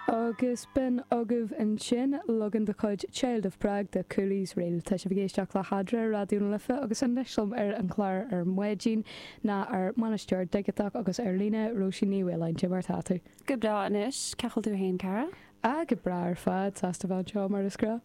Agus b'in agaibh ansin leagan de chuid Child of Prague de Cooley's Reel. Tá sibh ag éisteacht le hEadra ar Raidió na Life agus anois liom ar an chlár ar maidin ná ár mbainisteoir digiteach agus ar líne, Róisín Ní Mhaoláin. Cad é mar atá tú? Go breá anois. Cén chaoi a bhfuil tú féin, Cara? Ah, go breá ar fad. Sásta bheith anseo mar is gnách.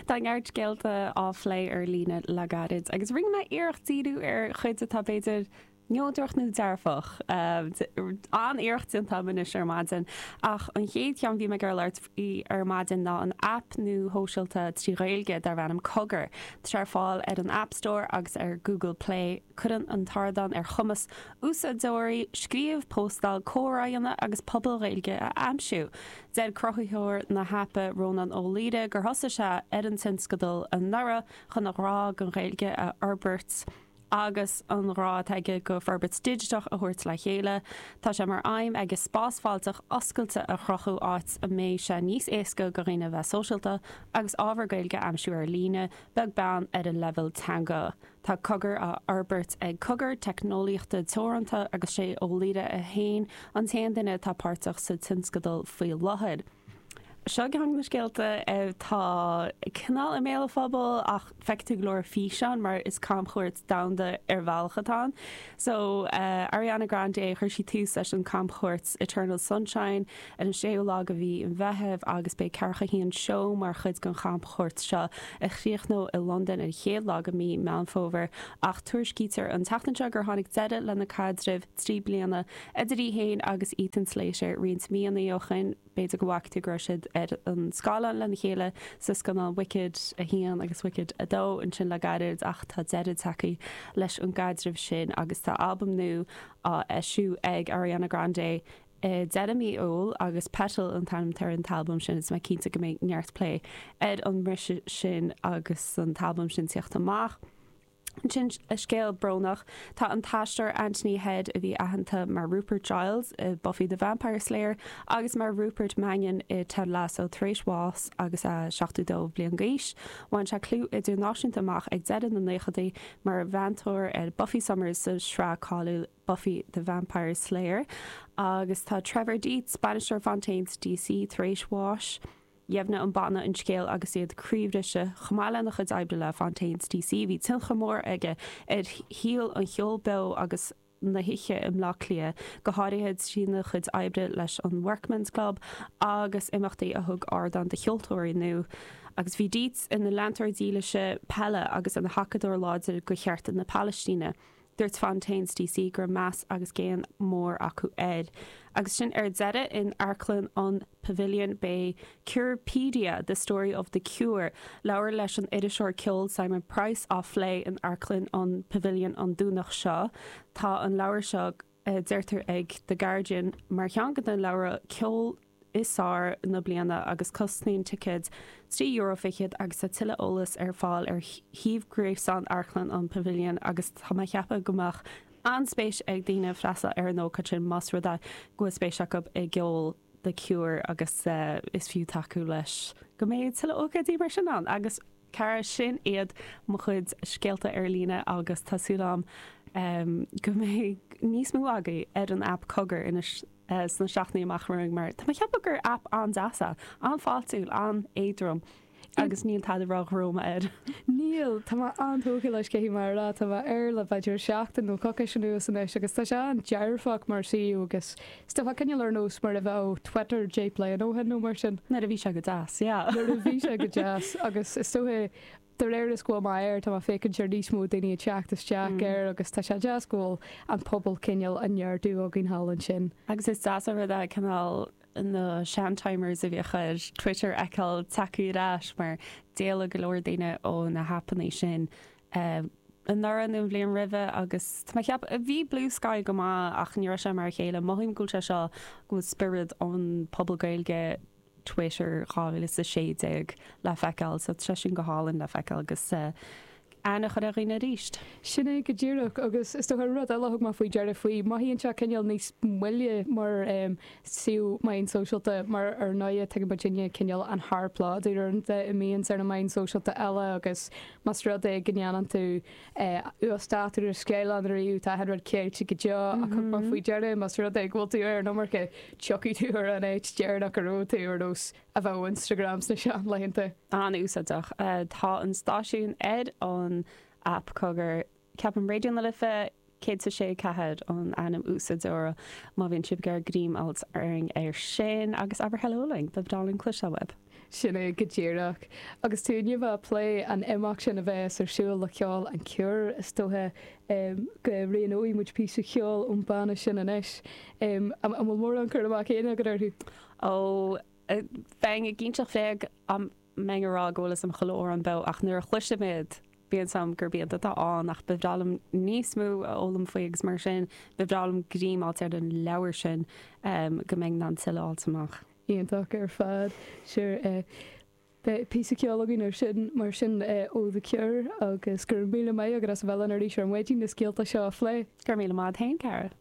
Tá neart scéalta á phlé ar líne le gairid agus rinne mé iarracht díriú ar chuid atá b'fhéidir neodrach nó dearfach. An-iarracht déanta agam anois ar maidin. Ach an chéad cheann bhí mé ag iarraidh labhairt faoi ar maidin ná an aip nua shóisialta trí Ghaeilge darb ainm Cogar. Tá sé ar fáil ar an App Store agus ar Google Play. Cuireann an t-ardán ar chumas úsáideoirí scríobh, póstáil, comhrá a dhéanamh agus pobail Ghaeilge a aimsiú. Deir cruthaitheoir na haipe Rónán Ó Laoire gur thosaigh sé ar an tionscadal anuraidh chun a ghrá don Ghaeilge a fhorbairt. agus an ghrá atá aige go forbairt digiteach a thabhairt le chéile. Tá sé mar aidhm aige spás fáilteach oscailte a chruthú áit a mbeidh sé níos éasca go dhaoine bheith sóisialta agus ábhar Gaeilge a aimsiú ar líne, beag beann ar a leibhéal teanga. Tá Cogar á fhorbairt ag Cogar Teicneolaíochta Teoranta agus sé Ó Laoire é féin an t-aon duine atá páirteach sa tionscadal faoi láthair. Seo ceann de na scéalta atá cineál i mbéal an phobail ach feicfidh tú go leor físeán mar is camchuairt domhanda ar bhealach atá ann. So Ariana Grande, chuir sí tús leis an camchuairt Eternal Sunshine ar an séú lá de mhí an Mheithimh agus beidh 41 seó mar chuid den chamchuairt seo a chríochnóidh i Londain ar an chéad lá de mhí Meán Fómhair ach tuairiscítear an tseachtain seo gur tháinig deireadh lena caidreamh 3 bliana idir í féin agus Ethan Slater roinnt míonna ó shin. B'fhéidir go bhfaca tú go raibh siad ar an scáileán lena chéile sa scannán Wicked 1 agus Wicked 2 ansin le gairid ach tá deireadh tagtha leis an gcaidreamh sin agus tá albam nua á eisiú ag Ariana Grande i deireadh mí Iúil agus Petal an t-ainm atá ar an t-albam sin is mé cinnte go mbeidh neart plé ar an mbriseadh sin agus an t-albam sin tíocht amach. Ansin, scéal brónach, tá an t-aisteoir Anthony Head, a bhí aitheanta mar Rupert Giles i Buffy the Vampire Slayer agus mar Rupert Mannion i Ted Lasso, tar éis bháis agus é 72 bliain d'aois. Bhain sé clú idirnáisiúnta amach ag deireadh na naochadaí mar mheantóir ar Buffy Summers sa sraith cáiliúil Buffy the Vampire Slayer. Agus tá Trevor Dietz, bainisteoir Fontaines DC, tar éis bháis. Dheimhnigh an banna an scéal agus iad croíbhriste. Chomh maith lena chuid oibre le Fontaines DC, bhí tionchar mór aige ar shaol an cheoil beo agus na hoíche i mBleá Cliath, go háirithe trína chuid oibre leis an Workman's Club agus imeachtaí a thug ardán do cheoltóirí nua. Agus bhí Dietz ina leantóir dílise peile agus ina thacadóir láidir do chearta na Palaistíne. Dúirt Fontaines DC go raibh meas agus géan mór acu air. Agus sin ar deireadh, in Amharclann an Pavilion beidh Curepedia, The Story of the Cure, leabhar leis an iriseoir ceoil Simon Price á phlé in Amharclann an Pavilion an Domhnach seo. Tá an leabhar seo, deirtear ag The Guardian, mar cheann de na leabhra ceoil is fearr na bliana agus cosnaíonn ticéid €3.20 agus tá tuilleadh eolais ar fáil ar shuíomh gréasáin Amharclann an Pavilion agus tá mé ag ceapadh go mbeadh an-spéis ag daoine freastal ar an ócáid sin más rud é go bhfuil spéis acu i gceol The Cure agus is fiú tacú leis go mbeidh tuilleadh ócáidí mar sin ann agus Cara, sin iad mo chuid scéalta ar líne agus tá súil agam go mbeidh níos mó agaibh ar an aip Cogar anois sna seachtainí amach romhainn mar tá mé ag ceapadh gur aip an-deas é, an-fháiltiúil, an-éadrom agus níl tada ródhroma air. Níl, tá mé an-tógtha leis caithfidh mé a rá, tá mé air le b'fhéidir seachtain nó coicís anuas anois agus tá sé an-dearfach mar suíomh agus is dócha cineál ar nós mar a bheadh Twitter 10 bliana ó shin nó mar sin. Nuair a bhí sé go deas, yeah. Nuair a bhí sé go deas agus is dócha de réir is go bhfuil mé air tá mé ag féachaint ar níos mó daoine ag teacht isteach air agus tá sé deas go bhfuil an pobal cineál á neartú againn thall ansin. Agus is deas an rud é cineál na sean-timers a bhíodh ar Twitter a fheiceáil tagtha ar ais mar d'éalaigh go leor daoine ó na haipeanna sin anuraidh nó an bhliain roimhe agus tá mé ag ceapadh, bhí Bluesky go maith ach ní raibh sé mar a chéile. Mothaím go bhfuil sé seo, go bhfuil spiorad an pobal Gaeilge Twitter 2016 le feiceáil so tá sé sin go hálainn le feiceáil agus. aithne a chur ar dhaoine arís. Sin é go díreach, agus is dócha rud eile a thug mé faoi deara faoi, mothaíonn sé cineál níos moille mar suíomh meáin sóisialta mar ar ndóighe tuigeann muidinne cineál an shárphlódú uaireanta a mbíonns ar na meáin sóisialta eile agus más rud é go ndéanann tú uasdátú ar scáileán ariamh tá achan rud ceilte go deo ach thug mé faoi deara más rud é go bhfuil tú ar an iomarca tiocfaidh tú ar an áit deireanach a raibh tú ar nós a bheadh Instagram sna seanlaethanta. An-úsáideach. Tá an stáisiún ar an aip Cogar. Ceapaim Raidió na Life 106 4 an ainm úsáideora má bhíonn sibh ag iarraidh greim a fháilt orainn ar sin agus abair hello linn, ba bhreá linn cloisteáil uaibh. Sin é go díreach. Agus tú inniu ag plé an imeacht sin a bheas ar siúl le ceol an Cure, is dócha go roghnóidh muid píosa ceoil ón banna sin anois. An bhfuil mórán cur amach féin agat orthu? Ó, bheinn ag inseacht bréag dá mbeinn ag rá go bhfuil fhios a'm chuile amhrán beo ach nuair a chloisim iad bíonn fhios a'm gurb iad atá ann ach ba bhreá liom níos mó a fhoghlaim faoi agus mar sin ba bhreá liom greim a fháilt ar an leabhar sin go mbeinn in ann tuilleadh a fháilt amach. Iontach ar fad. Sure. Beidh píosa ceoil againn ar sin mar sin ó The Cure agus go raibh míle maith agat as a bheith linn arís ar maidin na scéalta seo a phlé. Go raibh míle maith agat féin, Cara.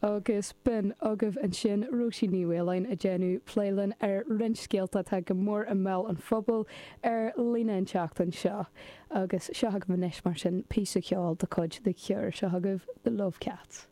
Agus b'in agaibh ansin Róisín Ní Mhaoláin ag déanamh plé linn ar roinnt scéalta atá go mór i mbéal an phobail ar líne an tseachtain seo. Agus seo agaibh anois mar sin píosa ceoil de chuid The Cure. Seo agaibh The Love Cats.